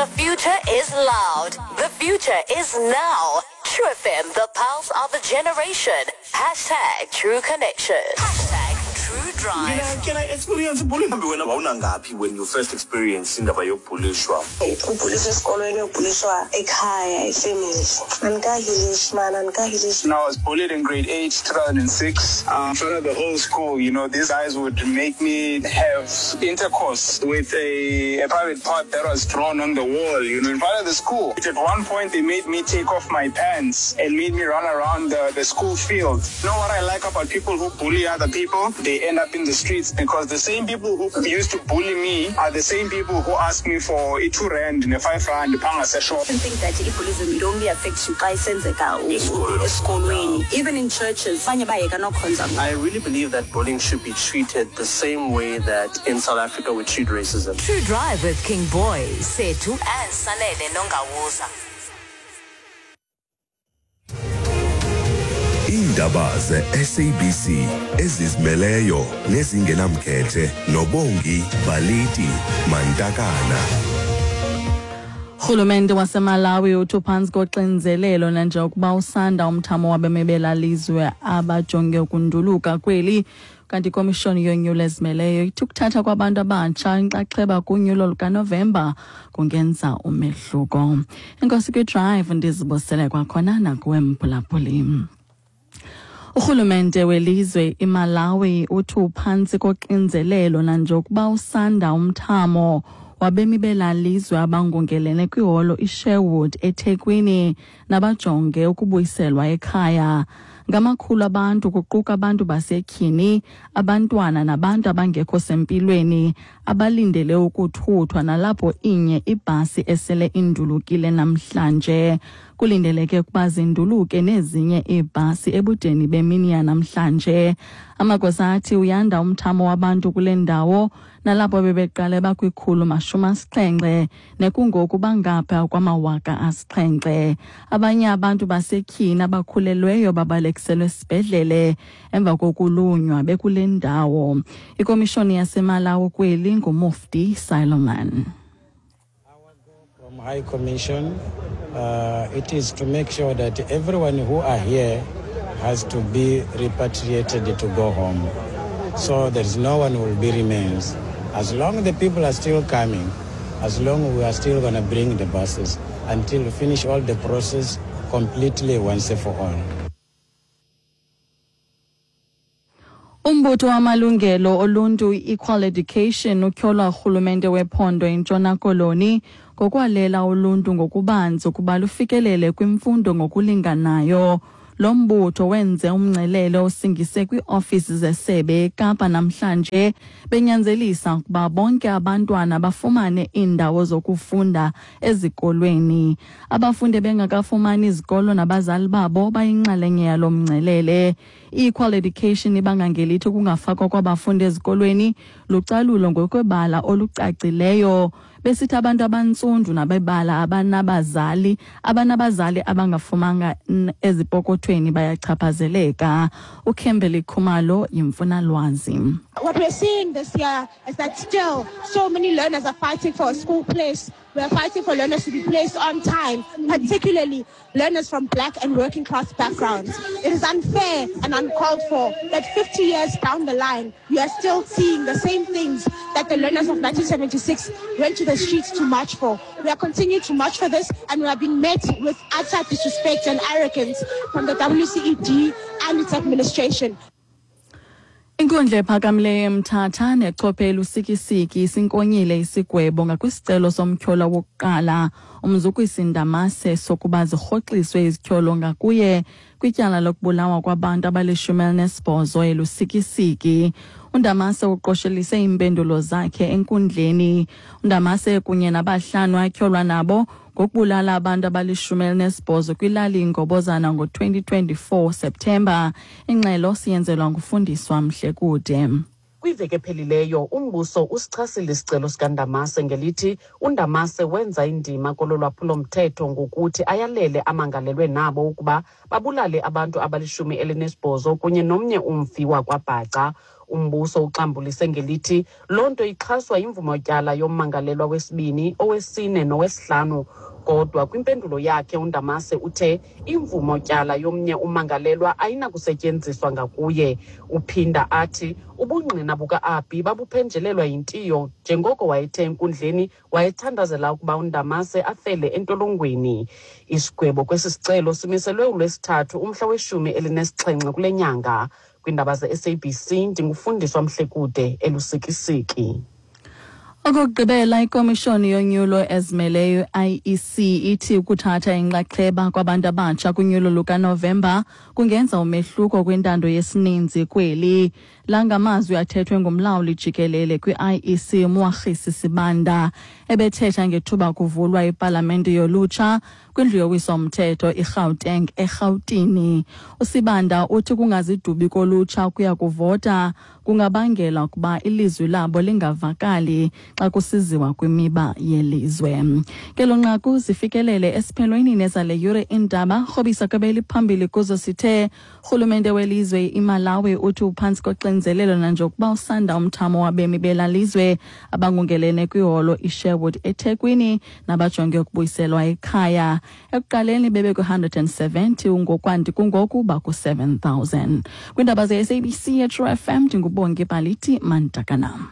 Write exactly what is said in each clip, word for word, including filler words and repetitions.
The future is loud. The future is now. True F M, the pulse of a generation. Hashtag True Connection. Hashtag True Drive. Mina can I experience bullying? Mhlawumbi wena wawunangaphi when you first experience indaba yokubhulishwa? Ubhuliswa esikolweni, ubhuliswa ekhaya, ifamily. Andikahilishi man, andikahilishi. When I was bullied in grade eight, two thousand six, um, in front of the whole school, you know, these guys would make me have intercourse with a, a private part that was drawn on the wall, you know, in front of the school. At one point, they made me take off my pants and made me run around the, the school field. You know what I like about people who bully other people? They end up in the streets, because the same people who used to bully me are the same people who ask me for a two rand and a five rand panga shop. I think that i-bullyism, it only affects you xa isenzeka u- Esikolweni. Esikolweni, even in churches abanye bayeka nokhonza. I really believe that bullying should be treated the same way that in South Africa we treat racism. True Drive with King Boy, Sethu and Sanele Nongawuza. Iindaba ze-S A B C ezizimeleyo nezingenamkhethe noBongi Baliti Mantakana. Urhulumente waseMalawi uthi uphantsi koxinzelelo nanjengokuba usanda umthamo wabemi belalizwe abajonge ukunduluka kweli. Kanti ikomishoni yonyulo ezimeleyo ithi ukuthatha kwabantu abatsha inxaxheba kunyulo lukaNovemba kungenza umehluko. Enkosi kwiDrive, ndizibosele kwakhona nakuwe mphulaphuli. Urhulumente welizwe iMalawi uthi uphantsi koxinzelelo nanjengokuba usanda umthamo wabemi belalizwe abangungelene kwiholo iSherwood eThekwini nabajonge ukubuyiselwa ekhaya. Ngamakhulu abantu, kuquka abantu basetyhini, abantwana nabantu abangekho sempilweni, abalindele ukuthuthwa, nalapho inye ibhasi esele indulukile namhlanje. Kulindeleke ukuba zinduluke nezinye iibhasi ebudeni bemini yanamhlanje. Amagosa athi uyanda umthamo wabantu kule ndawo, nalapho bebeqale bakwikhulu mashumi asixhenxe nekungoku bangapha kwamawaka asixhenxe. Abanye abantu basetyhini abakhulelweyo babalekiselwe esibhedlele emva kokulunywa bekule ndawo. Ikomishoni yaseMalawi kweli nguMufti Solomon. From High Commission, uh, it is to make sure that everyone who are here has to be repatriated to go home. So there is no one who will be remains. As long the people are still coming, as long we are still going to bring the buses until we finish all the process completely once and for all. Umbutho wamalungelo oluntu i-Equal Education utyhola urhulumente wephondo iNtshona Koloni ngokwalela uluntu ngokubanzi ukuba lufikelele kwimfundo ngokulinganayo. Lo mbutho wenze umngcelele osingise kwiiofisi zesebe eKapa namhlanje, benyanzelisa ukuba bonke abantwana bafumane iindawo zokufunda ezikolweni. Abafundi bengakafumani izikolo nabazali babo bayinxalenye yalo mngcelele. I-Equal Education ibanga ngelithi ukungafakwa kwabafundi ezikolweni lucalulo ngokwebala olucacileyo, besithi abantu abantsundu nabebala abanabazali abanabazali abangafumanga ezipokothweni bayachaphazeleka. UKimberly Khumalo yimfunalwazi. What we're seeing this year is that still so many learners are fighting for a school place. We are fighting for learners to be placed on time, particularly learners from black and working class backgrounds. It is unfair and uncalled for that fifty years down the line, you are still seeing the same things that the learners of nineteen seventy-six went to the streets to march for. We are continuing to march for this, and we are being met with utter disrespect and arrogance from the W C E D and its administration. Inkundla ephakamileyo eMthatha nechophe eLusikisiki isinkonyile isigwebo ngakwisicelo somtyholwa wokuqala uMzukisi Ndamase sokuba zirhoxiswe izityholo ngakuye kwityala lokubulawa kwabantu abalishumi elinesibhozo eLusikisiki. UNdamase uqoshelise iimpendulo zakhe enkundleni. UNdamase kunye nabahlanu atyholwa nabo ngokubulala abantu abalishumi elinesibhozo kwilali iNgobozana ngo-twenty twenty-four Septemba. Ingxelo siyenzelwa nguFundiswa Mhlekude. Kwiveki ephelileyo umbuso usichasile isicelo sikaNdamase ngelithi uNdamase wenza indima kolo lwaphulomthetho ngokuthi ayalele amangalelwe nabo ukuba babulale abantu abalishumi elinesibhozo kunye nomnye umfi wakwaBhaca. Umbuso uxambulise ngelithi loo nto ixhaswa yimvumotyala yommangalelwa wesibini, owesine nowesihlanu. Kodwa kwimpendulo yakhe uNdamase uthe imvumotyala yomnye ummangalelwa ayinakusetyenziswa ngakuye. Uphinda athi ubungqina buka-Abi babuphenjelelwa yintiyo njengoko wayethe enkundleni wayethandazela ukuba uNdamase afele entolongweni. Isigwebo kwesi sicelo simiselwe uLwesithathu umhla weshumi elinesixhenxe kule nyanga. Kwiindaba ze-S A B C ndingufundiswa Mhlekude eLusikisiki. Okokugqibela, ikomishoni yonyulo ezimeleyo I E C ithi ukuthatha inxaxheba kwabantu abatsha kunyulo lukaNovemba kungenza umehluko kwintando yesininzi kweli. La ngamazwi athethwe ngumlawuli jikelele kwi-I E C Mwakhisi Sibanda ebethetha ngethuba kuvulwa ipalamente yolutsha kwindlu yowiso-mthetho iGauteng eRhawutini. USibanda uthi kungazidubi kolutsha kuya kuvota kungabangela ukuba ilizwi labo lingavakali xa kusiziwa kwimiba yelizwe. Ngelo nqaku zifikelele esiphelweni nezale yure iindaba. Rhobisa kwebeli phambili kuzo sithe urhulumente welizwe iMalawi uthi uphantsi koxinzelelo nanjengokuba usanda umthamo wabemi belalizwe abangungelene kwiholo iSherwood eThekwini nabajonge ukubuyiselwa ekhaya. Ekuqaleni bebe kwi-one hundred and seventy ngokwanti kungoku baku-seven thousand. Kwiindaba ze-S A B C True F M ndinguBongi Baliti Mantakana.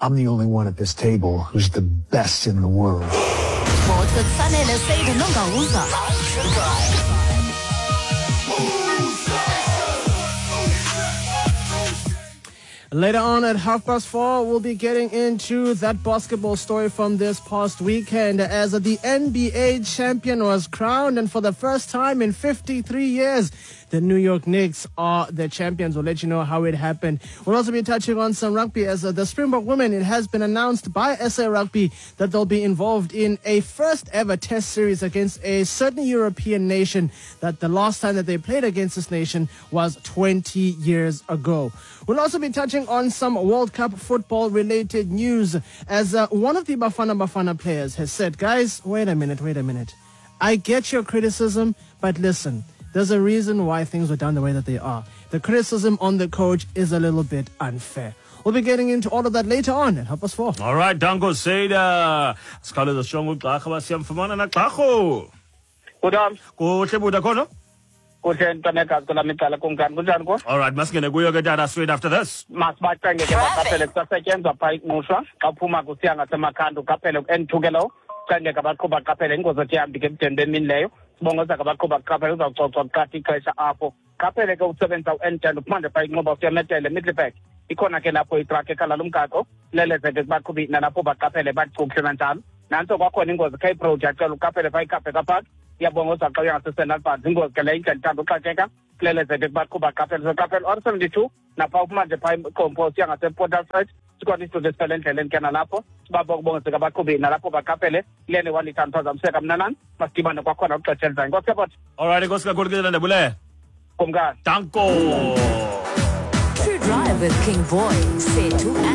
I'm the only one at this table who's the best in the world. Sports with Sanele Seide Nongawuza. Later on at half past four, we'll be getting into that basketball story from this past weekend as the N B A champion was crowned, and for the first time in fifty-three years, the New York Knicks are the champions. We'll let you know how it happened. We'll also be touching on some rugby as the Springbok women, it has been announced by S A Rugby that they'll be involved in a first ever test series against a certain European nation that the last time that they played against this nation was twenty years ago. We'll also be touching on some World Cup football related news as uh, one of the Bafana Bafana players has said, guys, wait a minute, wait a minute. I get your criticism, but listen, there's a reason why things were done the way that they are. The criticism on the coach is a little bit unfair. We'll be getting into all of that later on at half past four. All right, Danko Seda. Sikhawuleza siyonke ugxarha basiyamfumana nagxarho. Kutam. Kuhle buda khona? Kuhle ntwanekazi kwelam icala kumkani kunjani ko? All right, masingene kuyo ke tata straight after this. Masibacenge ke baqaphele kusasetyenzwa phaa ingqushwa xa uphuma kusiya ngaseMakhanda uqaphele ku-N two ke lowo. Cenge ke abaqhuba baqaphele ingozi ethi yambi ke ebudeni bemini leyo. Sibongoza ke abaqhuba baqaphele uzawucocwa kuqatha ixesha apho. Qaphele ke usebenzisa u-N ten uphuma nje phaa inqoba usiya Metele Middelburg. Ikhona ke lapho itruck ekhala lomgaqo leleze ke kubaqhubi nalapho baqaphele bacukuhle nanjalo. Nantso kwakhona ingozi Cape Road yacela uqaphele phaa iKape Park. Iyabongoza xa uya ngaseSenalbans ingozi ke leyo indlela ithanda uxakeka kuleleze ke kubaqhuba baqaphele. So qaphele R seventy-two napha uphuma nje phaa iCompost uya ngasePort Alfred. Sikhona isitulo esiphela endleleni ke nalapho sibaba ukubongozeka abaqhubi nalapho baqaphele lene one-liter phazamiseka mnanani masidibane kwakhona uxesha elizayo. Nkosi yabona. All right, enkosi kakhulu ke Ndabule. Kumkani. Danko. True Drive with King Boy, Sethu.